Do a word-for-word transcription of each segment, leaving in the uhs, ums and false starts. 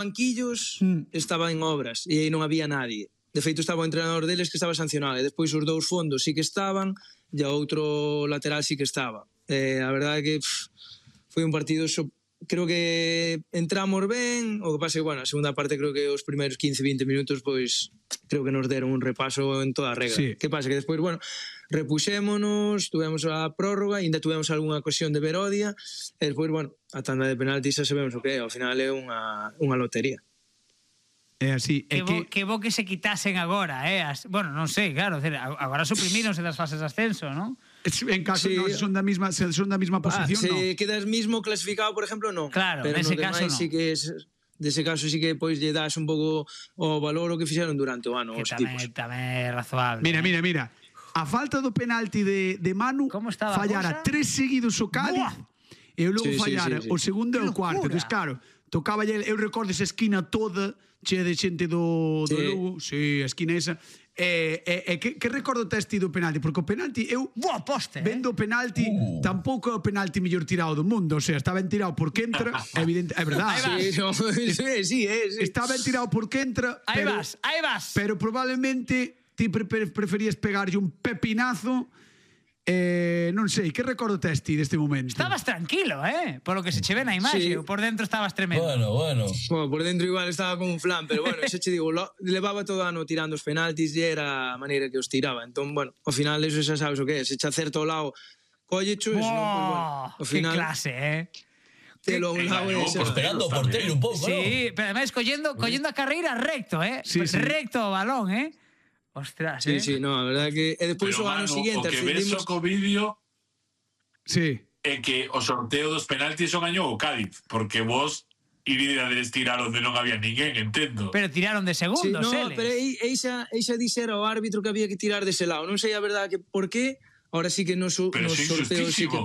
banquillos estaba en obras e aí non había nadie. De feito estaba o entrenador deles que estaba sancionado e despois os dous fondos sí que estaban e o outro lateral sí que estaba. Eh, a verdade é que pff, foi un partido so, creo que entramos ben, o que pasa é que, bueno, a segunda parte creo que os primeiros quince veinte minutos pois creo que nos deron un repaso en toda a regra. Sí. Que pasa que despois, bueno, repuxémonos, tuvemos a prórroga, ainda tuvemos algunha ocasión de Verodia e despois, bueno, a tanda de penaltis xa sabemos o que é, ao final é unha, unha lotería. É así, é que, bo, que bo que se quitasen agora, eh? As, bueno, non sei, claro, agora suprimíronse das fases de ascenso, non? En caso sí. no, son da misma, son da misma posición, ah, se no. Se quedas mismo clasificado, por ejemplo, non. Claro, pero nese no caso demais, non. Sí que es, dese caso sí que pois lle das un pouco o valor o que fixeron durante o ano que os tamén, tipos. Tamén é razoable. Mira, eh? mira, mira. A falta do penalti de, de Manu, fallara tres seguidos o Cádiz. Buah. E logo sí, fallara sí, sí, sí. o segundo e o cuarto. Entón, claro, tocaba eu recordo esa esquina toda chea de xente do, do sí. Lugo, sí, a esquina esa. E, e, e que, que recordo tes ti do penalti? Porque o penalti, eu Buah, poste, vendo o penalti, uh. tampouco é o penalti mellor tirado do mundo, o sea, está ben tirado porque entra, evidente, é verdade. Sí, no, sí, sí, sí. Está ben tirado porque entra, aí pero, vas, aí vas. Pero probablemente ti pre preferías pegarlle un pepinazo. Eh, non sei, que recordo tes ti deste momento? Estabas tranquilo, eh? Por lo que se che ve na imaxe, sí. Por dentro estabas tremendo. Bueno, bueno. Bueno, por dentro igual estaba como un flan, pero bueno, xa che digo, lo, levaba todo ano tirando os penaltis e era a maneira que os tiraba. Entón, bueno, ao final eso xa sabes o que é, se che acerta ao lado, collecho, eso, non, pues, bueno, ao final... Que clase, eh? Telo un lado e xa... Esperando o porteiro un pouco, sí, ¿no? Pero además collendo, collendo a carreira recto, eh? Sí, sí. Recto o balón, eh? Ostras, sí, eh? Sí, no, a verdade que e despois o ano seguinte o que ves o co vídeo sí. é que o sorteo dos penaltis o gañou o Cádiz, porque vos iríades tirar onde non había ninguén, entendo. Pero tiraron de segundos, sí, no, eles. pero eixa, eixa dixera o árbitro que había que tirar dese lado. Non sei a verdade que por qué, ahora sí que nos, nos sorteos sí que...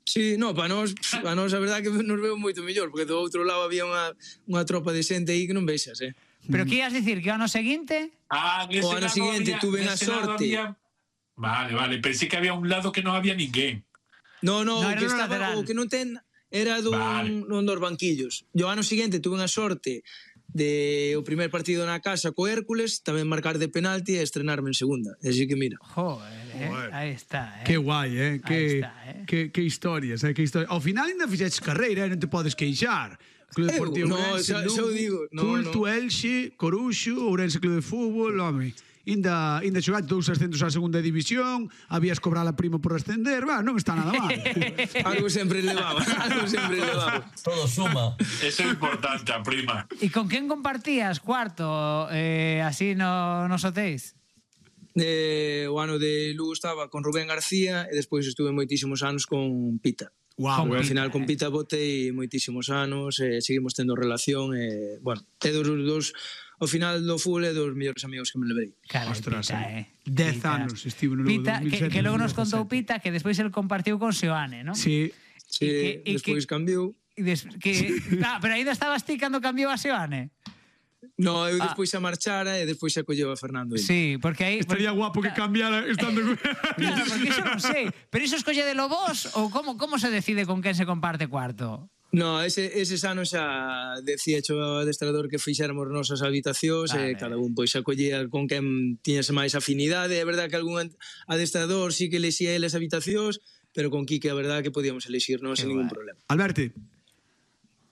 Sí, no, para nós, para nós a verdade que nos veo moito mellor, porque do outro lado había unha, unha tropa de xente aí que non vexas, eh. Pero que ibas dicir, que o ano seguinte? Ah, o ano seguinte había, tuve a sorte. Había... Vale, vale, pensé que había un lado que non había ninguén. No, no, no o que estaba, o que non ten era dun, vale. Dun dos banquillos. E o ano seguinte tuve a sorte de o primer partido na casa co Hércules, tamén marcar de penalti e estrenarme en segunda. Así que mira. Joder, eh? Aí está, eh. Que guai, eh? Que, está, eh? que, que historias, eh? Que historias. Ao final ainda fixeches carreira, eh? Non te podes queixar. Club Deportivo no, Ourense, xa, xa digo, no, Culto, no. Elxe, Coruxo, Ourense Club de Fútbol, home. Inda, inda xogaste dous ascensos á segunda división, habías cobrar a prima por ascender, va, non está nada mal. Algo sempre levaba, algo sempre levaba. Todo suma. Eso é importante, a prima. E con quen compartías cuarto eh, así no, nos hotéis? Eh, o ano de Lugo estaba con Rubén García e despois estuve moitísimos anos con Pita. Wow, ao final con Pita botei moitísimos anos e seguimos tendo relación e, bueno, é dos, dos ao final do fútbol é dos mellores amigos que me levei. Claro, ostras, Pita, eh. dez anos estivo no Lugo Pita, dos mil sete, que, que logo nos contou Pita que despois el compartiu con Seoane, non? Sí. Sí, e que, despois que, cambiou. E des, que, ah, pero ainda estabas ti cando cambiou a Seoane? No, eu despois ah. a marchara e despois a colleu a Fernando. Sí, porque aí... Estaría porque, guapo que cambiara estando... Claro, porque iso non sei. Pero iso escolle de vos ou como, como se decide con quen se comparte cuarto? No, ese, ese anos xa decía o adestrador que fixéramos nosas habitacións vale. E cada un pois a collía con quen tiñase máis afinidade. É verdade que algún adestrador sí que lexía eles habitacións, pero con Quique a verdade que podíamos elexirnos sen ningún problema. Alberto.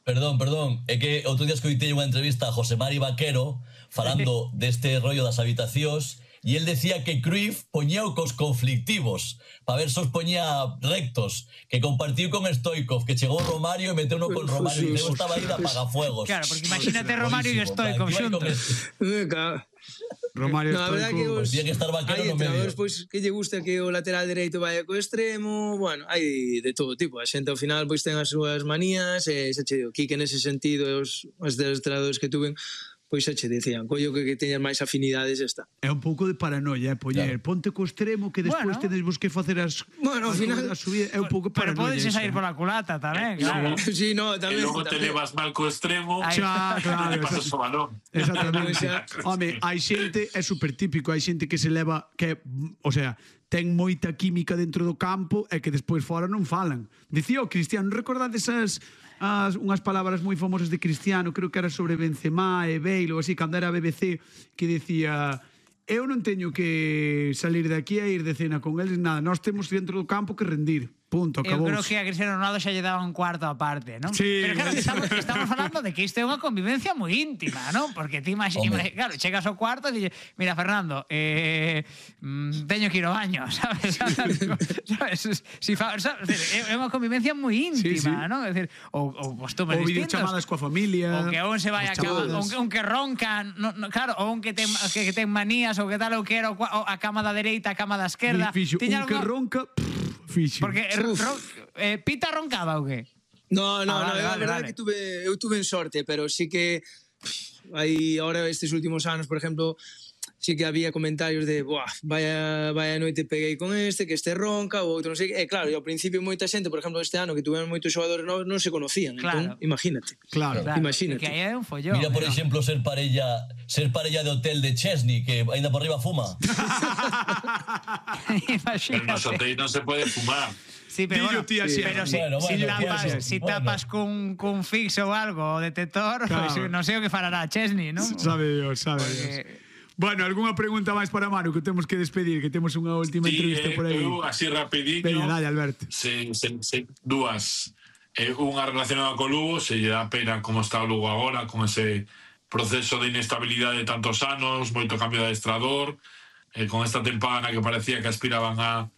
Perdón, perdón, é que outro día escoitei unha entrevista a José Mari Vaquero falando deste rollo das habitacións e el decía que Cruyff poñeu cos conflictivos para ver se os poñía rectos, que compartiu con Stoikov, que chegou Romario e meteu no con Romario e eu estaba aí de apagafuegos. Claro, porque imagínate Romario e Stoikov xuntos. Romario no, a verdade que os que estar hai entrenadores pois que lle gusta que o lateral dereito vaya co extremo, bueno, hai de todo tipo, a xente ao final pois ten as súas manías e xa che digo, Quique nese sentido os, os adestradores que tuven pois xa che dicían, collo que, que teñas máis afinidades está. É un pouco de paranoia, eh, poñer, claro. Ponte co extremo que despois bueno. tedes vos que facer as bueno, ao final a subida, é un pouco pero paranoia. Pero podes sair pola culata tamén, claro. Sí, no, tamén. E logo te levas mal co extremo, xa, claro, e pasas o balón. Exactamente. Home, hai xente, é super típico, hai xente que se leva que, o sea, ten moita química dentro do campo e que despois fora non falan. Dicía o Cristiano, recordades esas unhas palabras moi famosas de Cristiano, creo que era sobre Benzema e Bale ou así, cando era a B B C, que dicía: eu non teño que salir de aquí e ir de cena con eles, nada, nós temos dentro do campo que rendir. Punto, acabou. Eu creo que a Cristiano Ronaldo xa lle daba un cuarto aparte, non? Sí. Pero claro, estamos, estamos falando de que isto é unha convivencia moi íntima, non? Porque ti imaginas, claro, chegas ao cuarto e dices, mira, Fernando, eh, mm, teño que ir ao baño, sabes? sabes? Si fa, sabes? É unha convivencia moi íntima, sí, sí. non? É dicir, ou, ou costumes ou distintos. videochamadas coa familia. Ou que un se vai a cama, un, un que ronca, no, no, claro, ou un que ten, que, que ten manías, ou que tal, ou que era a cama da dereita, a cama da esquerda. Fixo, un algo... que ronca, pff, fixo. Porque ron, eh, Pita roncaba ou que? No, no, ah, vale, no, vale, a verdade vale. que tuve, eu tuve en sorte, pero sí que aí ahora estes últimos anos, por exemplo, sí que había comentarios de, buah, vaya, vaya noite peguei con este, que este ronca, ou outro non sei, e claro, e ao principio moita xente, por exemplo, este ano que tuvemos moitos xogadores novos, non se conocían, claro. entón, imagínate. Claro, claro. Imagínate. Que aí é un follón. Mira, por ¿no? exemplo, ser parella, ser parella de hotel de Chesney, que ainda por arriba fuma. Pero nos hotéis non se pode fumar. Sí, pero bueno, tía, sí. pero si, bueno, si bueno, tapas, bueno, si bueno. tapas cun, cun fixo ou algo, o detector, Claro. pues, non sei o que fará Chesney, non? Sabe Dios, sabe Porque... Dios. Bueno, algunha pregunta máis para Manu, que temos que despedir, que temos unha última Sí, entrevista eh, por aí. eu, así rapidinho. Veña, dale, Alberto. Se, se, se, dúas. Eh, unha relacionada co Lugo, se lle dá pena como está o Lugo agora, con ese proceso de inestabilidade de tantos anos, moito cambio de adestrador, eh, con esta tempada na que parecía que aspiraban a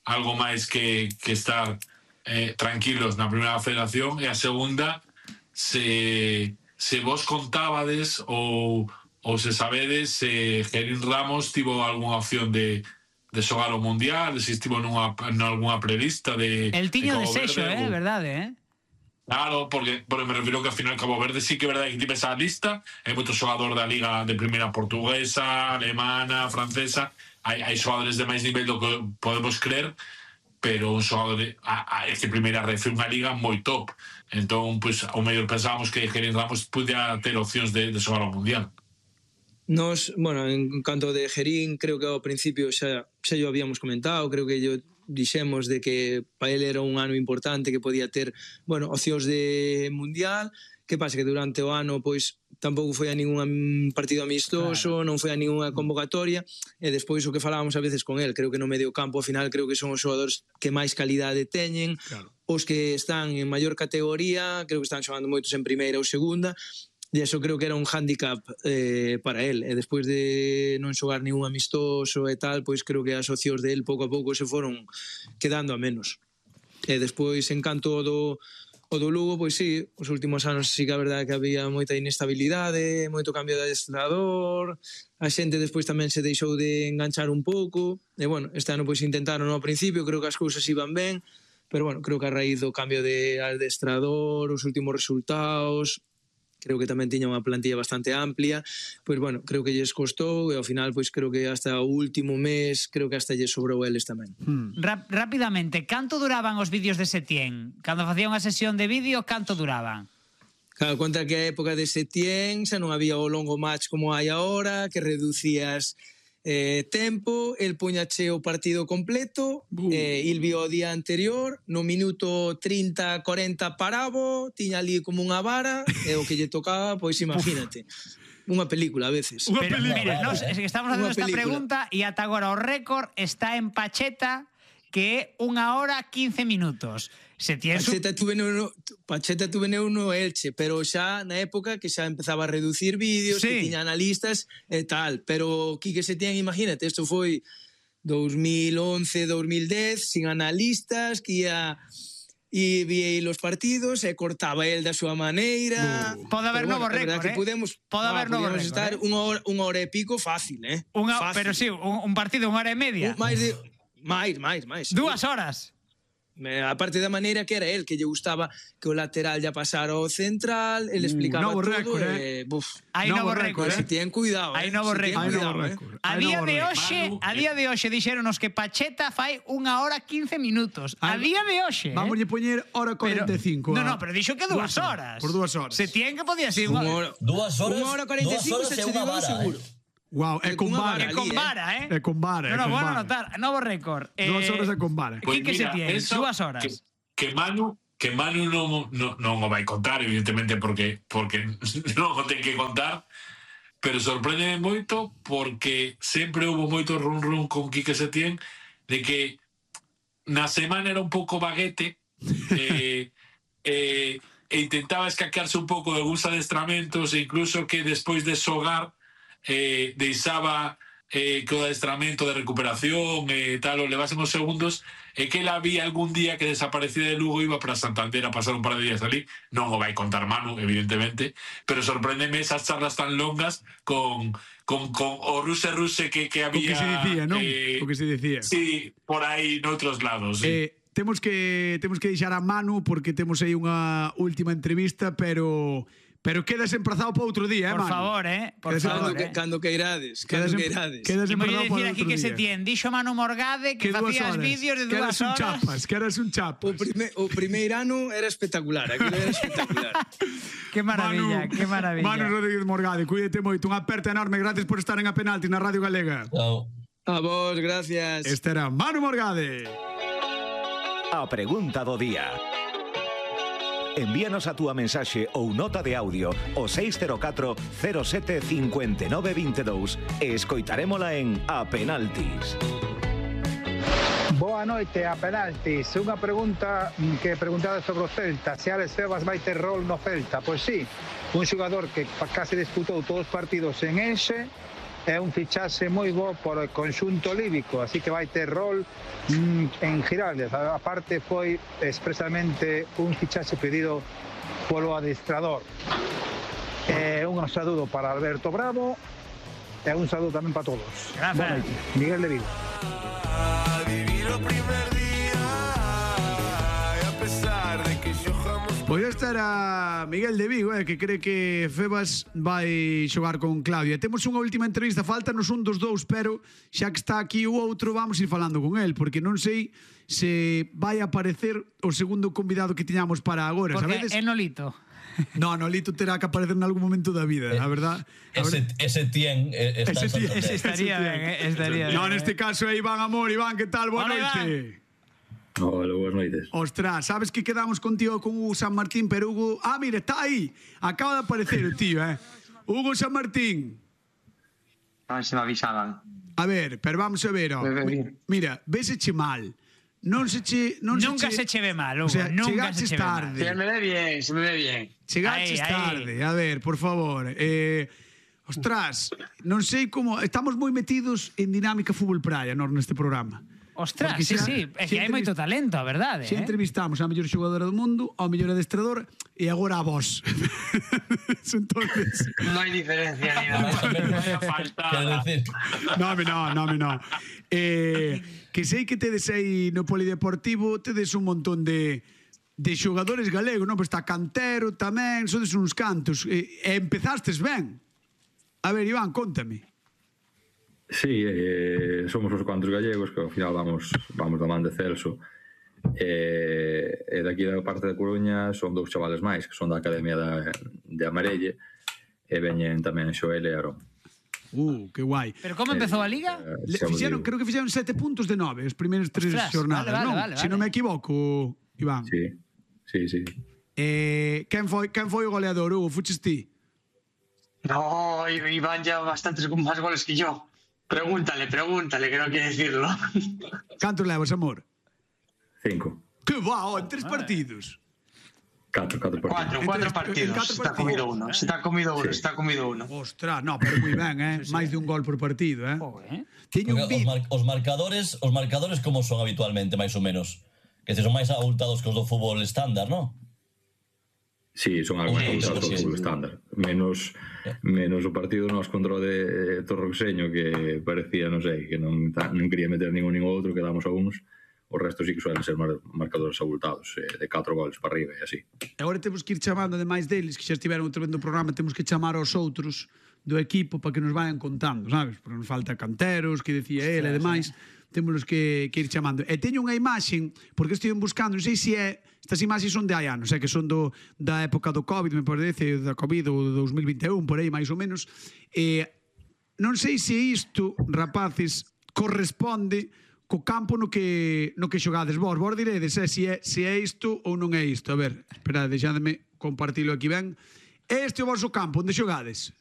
algo máis que, que estar eh, tranquilos na primeira federación, e a segunda, se, se vos contábades ou, ou se sabedes se Gerín Ramos tivo algunha opción de de xogar o Mundial, se estivo nunha, nunha prelista de El tiño de, de sexo, Verde, eh, ou... verdade, eh? Claro, porque, porque me refiro que ao final Cabo Verde sí que é verdade que tipe esa lista, hai moito xogador da liga de primeira portuguesa, alemana, francesa, hai, hai xogadores de máis nivel do que podemos creer, pero un xogador de, a, a, este primeira red foi unha liga moi top, entón, pues, ao mellor pensábamos que Gerín Ramos podía ter opcións de, de xogar ao Mundial. Nos, bueno, en canto de Gerín, creo que ao principio xa, xa yo habíamos comentado, creo que yo dixemos de que para ele era un ano importante, que podía ter, bueno, opcións de Mundial. Que pasa que durante o ano pois tampouco foi a ningún partido amistoso, claro. Non foi a ninguna convocatoria, e despois o que falábamos a veces con el, creo que no medio campo ao final creo que son os xogadores que máis calidade teñen, claro. Os que están en maior categoría, creo que están xogando moitos en primeira ou segunda, e eso creo que era un hándicap eh, para él, e despois de non xogar ningún amistoso e tal, pois creo que as opcións de él pouco a pouco se foron quedando a menos. E despois, en canto do, o do Lugo, pois sí, os últimos anos sí que a verdade que había moita inestabilidade, moito cambio de adestrador, a xente despois tamén se deixou de enganchar un pouco, e bueno, este ano pois intentaron ao principio, creo que as cousas iban ben, pero bueno, creo que a raíz do cambio de adestrador, os últimos resultados, creo que tamén tiña unha plantilla bastante amplia, pois bueno, creo que lles costou e ao final pois creo que hasta o último mes creo que hasta lles sobrou eles tamén. Hmm. Rap rápidamente, canto duraban os vídeos de Setién? Cando facía unha sesión de vídeo, canto duraban? Claro, conta que a época de Setién xa non había o longo match como hai agora, que reducías eh, tempo, el puñache o partido completo, uh. eh, il vio o día anterior, no minuto trinta, corenta parabo, tiña ali como unha vara, e o que lle tocaba, pois imagínate. Unha película a veces. Pero, película. Mira, nos, es que estamos facendo esta pregunta e ata agora o récord está en Pacheta, que é unha hora quince minutos. Setién Pacheta tuve no, Pacheta tuve no Elche, pero xa na época que xa empezaba a reducir vídeos, sí. Que tiña analistas e tal, pero Quique Setién, imagínate, isto foi dos mil once, dos mil dez, sin analistas, que ia e vía los partidos e cortaba el da súa maneira. Uh. Pode haber novo bueno, récord, eh? Podemos, Pode haber novo récord, estar eh? unha hora, unha hora e pico fácil, eh? Unha, fácil. Pero sí, un, un partido unha hora e media. Un, máis de máis, máis, máis. Dúas horas. Aparte da maneira que era el, que lle gustaba que o lateral ya pasara ao central, el explicaba uh, todo récord, e, eh? buf, hai novo récord, eh? Se tienen cuidado, hai eh? novo récord. Eh? A día de hoxe, a día de hoxe dixéronos que Pacheta fai unha hora quince minutos. A día de hoxe, eh? Vamos a poñer hora cuarenta e cinco. No, no, pero dixo que dúas horas. Por dúas horas. Se tienen que podía ser unha hora. Dúas horas. Unha hora cuarenta e cinco se che digo seguro. Wow, é con vara. É con vara, eh? É con vara. No, no, bueno anotar, novo récord. Dúas horas é con vara. Quique Setién, dúas horas. Que Manu, que Manu non, non, non o vai contar, evidentemente, porque, porque non o ten que contar, pero sorprende moito porque sempre houve moito run run con Quique Setién de que na semana era un pouco baguete e, e, e intentaba escaquearse un pouco de algúns adestramentos e incluso que despois de xogar eh, deixaba eh, que o adestramento de recuperación e eh, tal o levasen os segundos e que él había algún día que desaparecía de Lugo iba para Santander a pasar un par de días ali, non o vai contar Manu evidentemente, pero sorpréndeme esas charlas tan longas con con, con o ruse ruse que, que había o que se dicía, non? Eh, o que se dicía sí, por aí noutros lados, sí. eh, temos que temos que deixar a Manu porque temos aí unha última entrevista, pero pero quedas emprazado para outro día, eh, Por Manu? favor, eh, por Quedas favor, Cando, eh. cando que irades, cando que irades. Quedas E moi emprazado dicir para aquí outro que se día. tien, dixo Manu Morgade que Que dúas facías horas. vídeos de Que dúas eras un horas. chapas, que eras un chapas. O, prime, o primeiro ano era espectacular, aquilo era espectacular. Que maravilla, Manu, que maravilla. Manu Rodríguez Morgade, cuídate moito. Unha aperta enorme, gracias por estar en A Penalti na Radio Galega. Chao. A vos, gracias. Este era Manu Morgade. A pregunta do día. Envíanos a túa mensaxe ou nota de audio ao seis cero catro cero sete cinco nove dos dous e escoitarémola en A Penaltis. Boa noite, A Penaltis. Unha pregunta que preguntaba sobre o Celta, se Alex Febas vai ter rol no Celta. Pois sí, un xogador que case disputou todos os partidos en Enxe, é un fichaxe moi bo por o conxunto líbico, así que vai ter rol mm, en Giraldez. A parte foi expresamente un fichaxe pedido polo adestrador. Eh, un saludo para Alberto Bravo e un saludo tamén para todos. Gracias. Miguel de Vigo. Pois esta era Miguel de Vigo, eh, que cree que Febas vai xogar con Claudia. Temos unha última entrevista, faltanos un dos dous, pero xa que está aquí o outro, vamos ir falando con el, porque non sei se vai aparecer o segundo convidado que tiñamos para agora, Porque sabedes? é Nolito. No, Nolito terá que aparecer en algún momento da vida, a verdad. A Ese, verdad. ese tien eh, está Ese en tien. Santander. Ese estaría Ese ben, eh, estaría ben. No, neste caso é Iván Amor. Iván, que tal? Boa Hola, noite. Hola, boas noites. Ostras, sabes que quedamos contigo con Hugo San Martín, pero Hugo... Ah, mira, está aí. Acaba de aparecer o tío, eh. Hugo San Martín. A ver se me avisaban. A ver, pero vamos a ver, oh. Mira, véseche mal. Non se che... Non Nunca se, se che ve mal, Hugo. O sea, Nunca se chegaches che ve mal. tarde. Se me ve bien, se me ve bien. Chegaches Aí, aí. tarde. A ver, por favor. Eh, ostras, non sei como... Estamos moi metidos en dinámica fútbol praia, nós, neste programa. Ostras, Porque sí, xa- sí, é xa que hai moito entrevist- talento, a verdade, Se eh? entrevistamos a mellor xogadora do mundo, ao mellor adestrador e agora a vos. Entonces, No hay diferencia ni nada. Quero decir, no, me no, no, me no. Eh, que sei que tedes aí no Polideportivo, tedes un montón de de xogadores galegos, non? Pois está Cantero tamén, sodes uns cantos. E, e empezastes ben. A ver, Iván, contame. Sí, eh, somos os cuantos gallegos que ao final vamos vamos da man de Celso. E, e daqui da parte da Coruña son dous chavales máis que son da Academia da, de Amarelle e veñen tamén Xoel e Aarón. Uh, que guai. Pero como empezou a Liga? Eh, Le, xa vos fixeron, digo. creo que fixeron sete puntos de nove os primeiros tres Ostras, xornadas, vale, vale, non? vale, Se non vale. me equivoco, Iván. Sí, sí, sí. Eh, quen foi quen foi o goleador, Hugo? Fuches ti? No, Iván ya bastantes con más goles que yo. Pregúntale, pregúntale, que no quiere decirlo. Cantos levas, amor? Cinco. Que va, oh, en tres partidos. Catro, catro partidos. Cuatro, En cuatro tres- en partidos. cuatro Se está partidos. comido uno, se está comido uno, Sí. se está comido uno. Ostras, no, pero moi ben, eh? Máis de un gol por partido, eh? Joder. Teño un porque os, vídeo. mar, os marcadores, os marcadores como son habitualmente, máis ou menos? Que se son máis abultados que os do fútbol estándar, non? Sí, son algo Sí, máis sí, altos sí, do sí. estándar. Menos menos o partido nos contra o de Torroxeño que parecía, non sei, que non, ta- non quería meter ningún nin outro, que damos algúns. O resto sí que suelen ser mar, marcadores abultados, eh, de catro goles para arriba e así. E agora temos que ir chamando, ademais deles, que xa estiveron outra vez no programa, temos que chamar aos outros do equipo para que nos vayan contando, sabes? Porque nos falta Canteros, que decía el e demais. Temos que, que ir chamando. E teño unha imaxe, porque estive buscando, non sei se é, estas imaxes son de hai anos, é que son do, da época do COVID, me parece, da COVID do dos mil vinte e un, por aí, máis ou menos. E non sei se isto, rapaces, corresponde co campo no que no que xogades vos. Vos diredes eh, se é se é isto ou non é isto. A ver, espera, deixadme compartilo aquí ben. Este é o vosso campo onde xogades?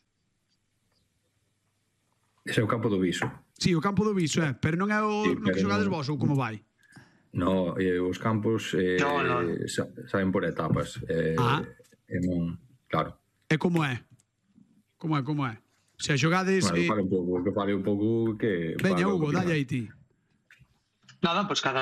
Ese é o campo do Viso. Sí, o campo do Viso, eh, pero non é o Sí, no que pero xogades non- vos ou como vai? No, eh, os campos eh, No, no. sa- saen por etapas. Eh, Ah. e non, claro. É como é? Como é, como é? O sea, xogades... Bueno, eh, fale un pouco, que fale un pouco que... Veña, fale o Hugo, que dalle opina. aí ti. Nada, pues cada